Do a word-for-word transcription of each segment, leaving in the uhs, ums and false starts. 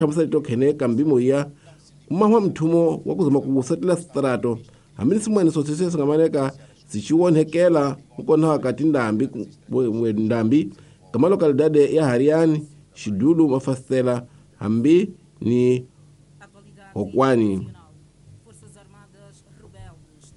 Hlamusela tokhene kambimo ya kumahwa mthumo wa kuzama kusetela strato hambi simwene sosese singamaneka sichiwonhekela mukona wakati ndambi ndambi kama localidade ya Hariani Xidulu Mafastela hambi ni Hokwani.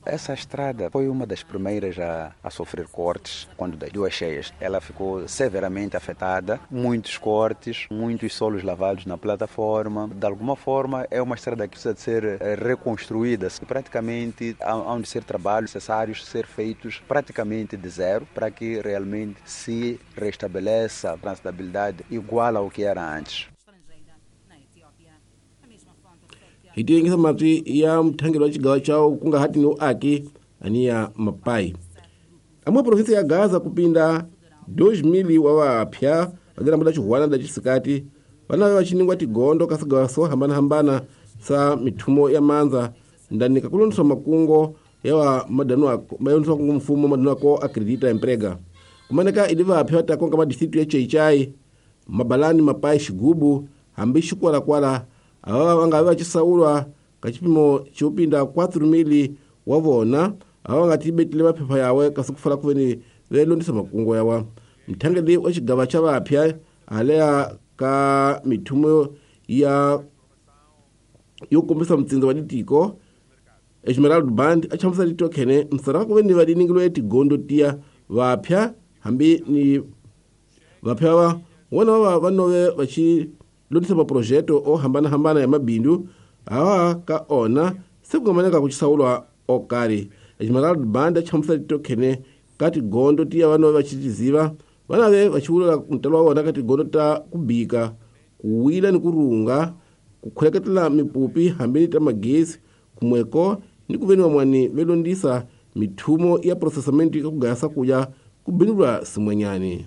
Essa estrada foi uma das primeiras a, a sofrer cortes quando das duas cheias. Ela ficou severamente afetada, muitos cortes, muitos solos lavados na plataforma. De alguma forma, é uma estrada que precisa de ser reconstruída. Praticamente, há de ser trabalhos necessários ser feitos praticamente de zero para que realmente se restabeleça a transitabilidade igual ao que era antes. Hitiyengisa matwi ya mthangelo wa xigawa chawo kunga hati ni uaki aniya mapai amwe provinsi ya Gaza kupinda dois mil wa vapya vadirambula xihuwana da xisikati vana va xiningwa tigondo ka swigawa swo hambanahambana sa mithumo ya mandza ndani ka kulondiswa makungo ya wa madano mayondiswa kungu mfumo madano ko acredita emprega kumaneka ili vapya vatakonka madistritu ya Chaichai Mabalani Mapai Xigubu hambi Xikwalakwala ava vanga va chisaulwa ka xipimo xo pinda quatro mil wa vona ava nga tibetile maphepha yawe kasi ku fala kuveni ve londisa makungu yawa mthangeli wa xigava xa vapya aleya ka mithumo ya yo kombisa mtsindza wa ditiko Esmeralda Band a chamusa litokhene msara kuveni va diningilwe tigondo tiya vapya hambi ni vapya va wona va va nove va xi londisa maprojeto o hambana-hambana ya mabindu awa ka ona se kungamaneka ku xisaulwa okari Esmeralda Band a chamusa litokhene ka tigondo tiya vanove va xitiziva vanave va xivulela ntalo wa vona ka tigondo ta ku bika ku wila ni ku runga ku khuleketela mipupi hambi ni ta magezi kumweko ni ku veni van'wani ve londisa mithumo ya processamento ka ku gaya swakudya ku bindulwa simwenyani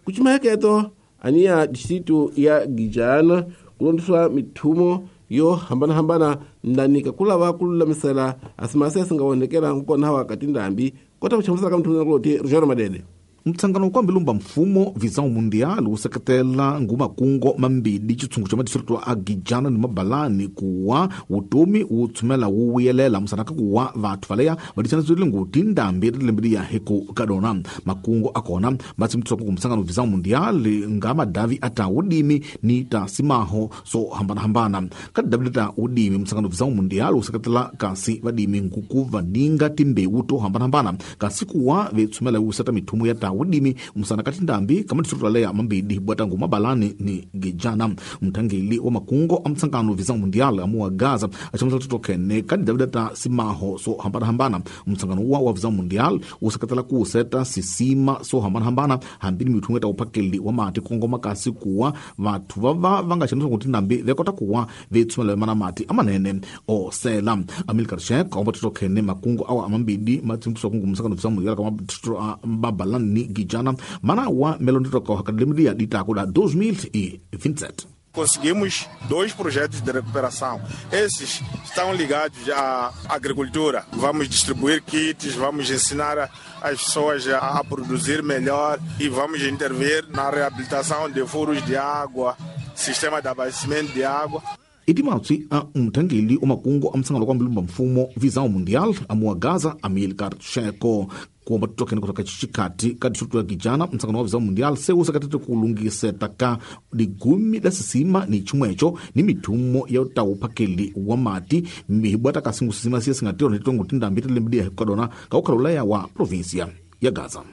ku cimaheketo aniya distrito ya Gijana ku londiswa mithumo yo hambanahambana ndanika ku lava ku lulamisela asimasi ya singa onhekela nkona wa ka tindhambi kota ku chamusela ka mithumo kuloti Rogério Madede. Mtsangano wa kwambilumba mfumo Visão Mundial wu seketela ngumakungo mambili xitshungu xa madistrito a Gijana ni Mabalani kuwa vutomi wu tshumela wu vuyelela musanaka kuwa vathu valeya va ditshanatswile ngu tindhambi ri lembe liya hi ku ka dona makungo a kona ma tsimitisa ku msangano Visão Mundial nga madavi a ta wudimi ni ta simaho so hambanahambana ka tidavi ta wudimi msangano Visão Mundial wu seketela kasi vadimi nkuku vaninga timbewu to hambanahambana kasi kuwa ve tshumela wu seta mithumo ya ta wudimi musana kati ndambi kama distrito leya mambili bwatangu Mabalani ni Gijana. Mthangeli wa makungo a mtsangano Visão Mundial amuwa Gaza achamusa titokene kati Davida ta simaho so hambanahambana. Mtsangano wa wa Visão Mundial useketela ku seta sisima so hambanahambana hambini mithungo ta uphakeli wa mati kongoma kasi kuwa vathu va va va nga xanisa kuti ndambi ve kota kuwa ve tshumela mana mati amanene o sela. Amilcar Sheck omba titokene makungo awa amambili matsimtiswa kungu msangano Visão Mundial kama distrito a Mabalani ni Gijana mana wa melonditoka academia ditako da dois mil e vinte e sete. Conseguimos dois projetos de recuperação. Esses estão ligados à agricultura. Vamos distribuir kits, vamos ensinar as pessoas a produzir melhor e vamos intervir na reabilitação de furos de água, sistema de abastecimento de água. Itimatsi a mthangeli wa makungo a msangano wa mbilumba mfumo Visão Mundial amuwa Gaza Amilcar Sheko kuomba tutokene kutoka xikati ka distrito ya Gijana. Msangano wa Visão Mundial se wu seketete ku lunghiseta ka ligumi la sisima ni chimwecho ni mithumo ya ta uphakeli wa mati mihibwata ka singu sisima siye singatirho ni tongo tindhambi ti lembe liya hi dona ka ukhalula wa provinsia ya Gaza.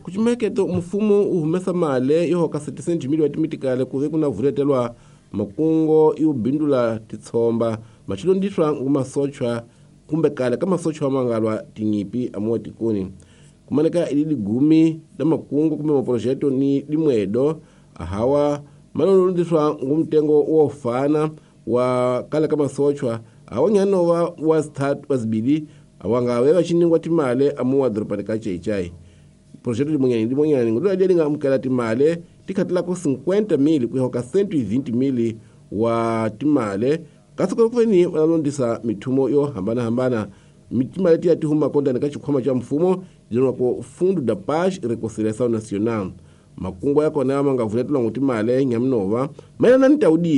Kuchimeketo mfumo wu humesa mali yo hoka setecentos mil wa timitikale ku ve ku na vuletelwa makungo yo bindula titshomba machilondiswa ngumasochwa kumbe kale ka masochwa mangalwa tinyipi amuwa tikoni kumaneka ili ligumi la makungo kumbe maprojeto ni limwedo ahawa malondiswa ngumtengo wofana wa kale ka masochwa awanyano wa wa start wasibili awangawe vachiningwa timale amuwa doroba ka Chaichai projeto limwenyani limwenyani ngudula linga amukela timale tikhatela ku cinquenta mil ku hoka cento e vinte mil wa timale kasi kuveni valondisa mithumo yo hambanahambana mitimale tiya tihuma kondani ka xikhwama xa mfumo jenwa ku Fundo da Paz e Reconciliação Nacional makungu ya kona ma nga vuletelwa ngu timale nyaminova mayelana ni ta wudimi.